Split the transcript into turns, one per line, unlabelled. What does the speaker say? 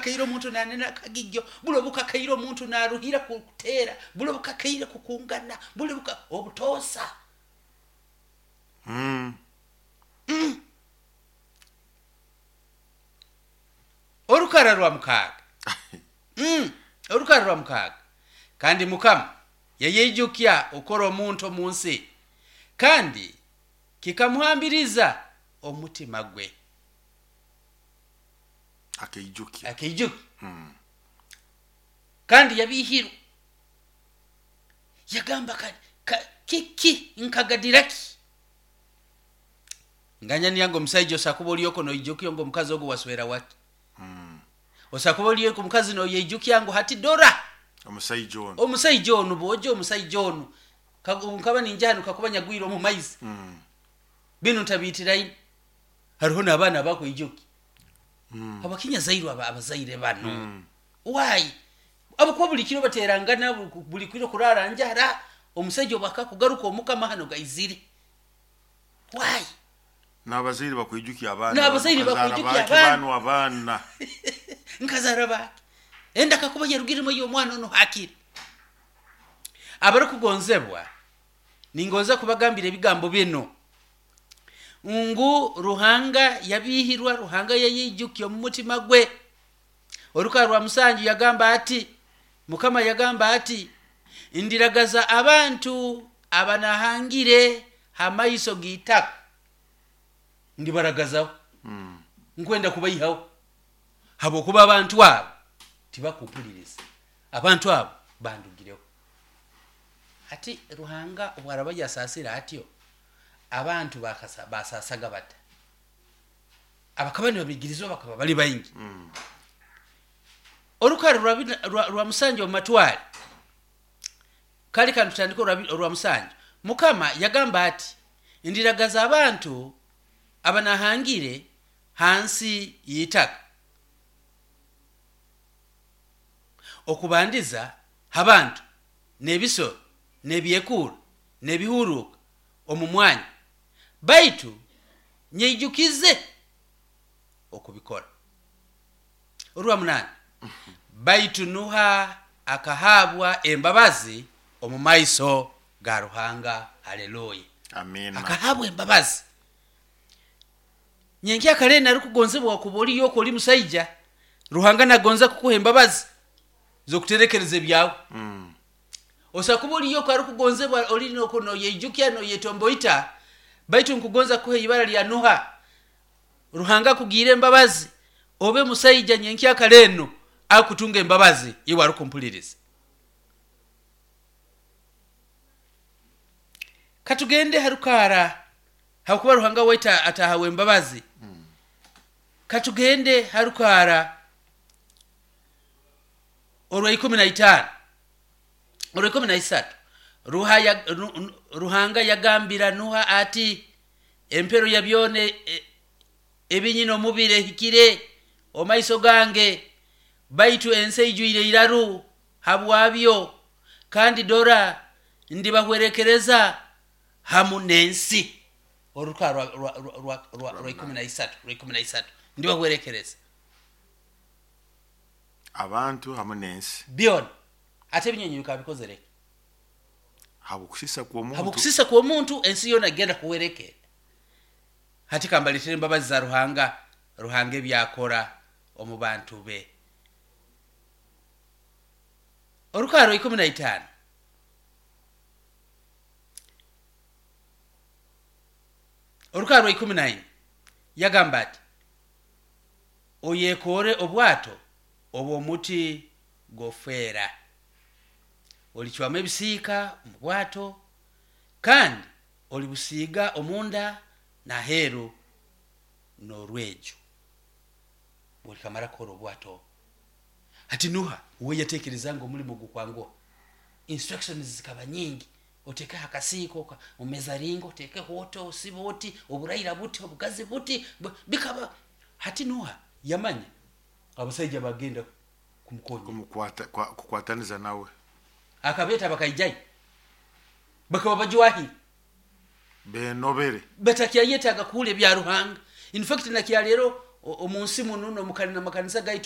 Obukakaire omuntu nanena akagigyo, buli obukakaire omuntu naruhira kuteera, buli obukakaire kukungana, buli obutoosa. Orukara rwa 6. Orukara rwa 6. Kandi Mukama yayeijukya okukora omuntu omu nsi, kandi kikamuhambiriza omutima gwe.
Akaijukya.
Akaijukya. Kandi yabihirwa. Yagamba kiki nkagadira ki? Nganya niyango omusaija osakuba olyoko noijukya ngo omukazi ogu waswera waki. Osakuba olyoko omukazi noyeijukya ngo hati dora.
Omusaija ono.
Omusaija ono bojo omusaija ono. Nkaba ninja hano kakuba nyagwire omu maizi. Binu ntabitiraine. Hariho n'abaana abakwijuki. Abakinya zairwe abazaire bano. Why? Abakuba buli kiro baterangana buli kiro kurara njara omusaija obakakugaruka omukama hano gaizire. Why?
N'abazaire bakwijukia abaana.
N'abazaire bakwijukia abaana.
Abaana.
Nkazara baki. Enda kakuba yarugiremo y'omwana ono hakiri. Abarukugonzebwa ningonza kubagambira ebigambo bino. Ngu Ruhanga yabihirwa, Ruhanga yayijukia omu mutima gwe. Oruka rwa 7 yagamba ati, Mukama yagamba ati, ndiragaza abantu abanahangire hamaiso g'itaka. Ndibaragazaho. Nkwenda kubaihaho. Habwokuba abantu abo tibakumpuliriza. Abantu abo bandugireho. Ati Ruhanga obwaraba yasasira atyo, abantu basasaga bata. Abakaba nibabigirizwa bakaba bali baingi. Orukara rwa 7 omu matwale. Kali kantu tutandika orwa 7. Mukama yagamba ati, ndiragaza abantu abanahangire hansi y'itaka. Okubandiza abantu n'ebisoro n'ebyekura n'ebihuruka omu mwanya, baitu nyeijukize okubikora. Orwa 8. Baitu Nuha akahabwa embabazi omu maiso ga Ruhanga. Haleluya.
Amina.
Akahabwa embabazi. Nyenkya kare narukugonzebwa okuba oli yoko oli musaija, Ruhanga nagonza kukuha embabazi zokuterekereza ebyawe. Osakuba oli yoko arukugonzebwa oli noko noyeijukya noyetomboita, baitu nkugonza kukuha ibara lya Nuha. Ruhanga akugiire embabazi obe musaija nyenkya kare eno akutunga embabazi iwe arukumpuliriza. Katugende harukara hakuba Ruhanga waitu atahawe embabazi. Katugende harukara orwa 15. Orwa 13. Ruhanga yagambira Nuha ati, empero ya byone ebinyina omubiri ehikire omaiso gange, baitu ensi eijwire iraru habwabyo, kandi dora ndibahwerekereza hamu n'ensi. Oruka rwa 13, rwa 13 ndibahwerekereza
abantu hamu n'ensi
byona. Ate ebinyonyi bikaba bikozere
habwokusisa kw'omuntu,
habwokusisa kw'omuntu ensi yona egenda kuhwerekera. Hati kambaletere embabazi za Ruhanga, Ruhanga ebyakora omu bantu be. Orukaro 15. Orukaro 14 yagamba ati, oyekore obwato obw'omuti gofera, olicwamu ebisiika omu bwato, kandi olibusiiga omunda n'aheeru n'orweju. Bwolikamara kukora obwato. Hati Nuha uwe yatekereza ngu omulimo gukwanguha. Instructions zikaba nyingi. Otekeho akasiiko omezaringo, otekeho oti, osibe oti, oburaira buti, obugazi buti, bikaba. Hati Nuha yamanya abasaija bagenda kumukonya,
kukwataniza nawe.
Akabeta bakaijayo, bakaba bajwahire
benobere,
batakyayetaga kuhula ebya Ruhanga. In fact nakyalero omunsi muno n'omukanisa gaitu.